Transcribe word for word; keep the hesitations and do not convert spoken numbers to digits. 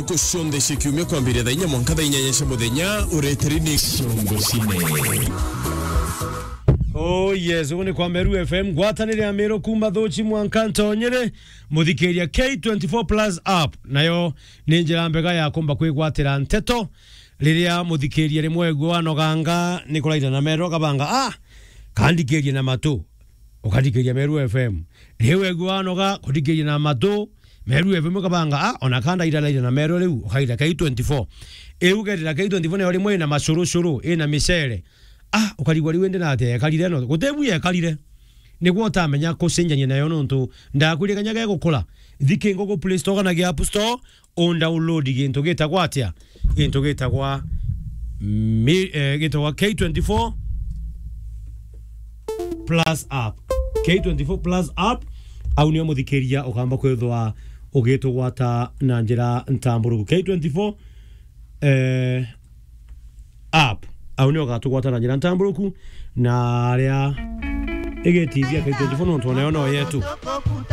Ntuku cionthe cia kiumia kwambiria thaa inya mwanka thaa inyanya cia muthenya, ureteri ni Ciongo Cine. Oh yes, ugu ni kwa Meru F M, ngwatanire ya Meru kuma Thuchi mwanka Ntonyere, muthikiria K twenty-four Plus app, nayo ni njira mbega ya kumba kwigwatira nteto. Riria muthikiria rimwe wegua wanoganga, ni kuraira na Meru akabanga, ah, kandikirie na matu, ukandikiria Meru F M. Riu wegua wanoga, kundikiria na matu, Meru F M ukabanga, ah, ona kanda iraraira na Meru riu, ukaira K twenty-four. Iu ukerira K twenty-four nayo rimwe ina macurucuru, ina micere. Ah, ukarigwa riu indi na atia yekarire no? Gutebu yekarire. Niguo utamenya kucenjania nayo nontu ndakwirie kanya gegukura. Thi kingugu Play Store kana gi App Store, undownload gintu gitagwa atia? Gintu gitagwa mi-, eh, gitagwa K twenty-four Plus app. K twenty-four Plus app, au nio muthikiria ukamba kwithwa ugitugwata na njira ntamburuku. K twenty-four, eh, app, au nio ugatugwata na njira ntamburuku, na aria igitithia K twenty-four nontu onayo no yetu.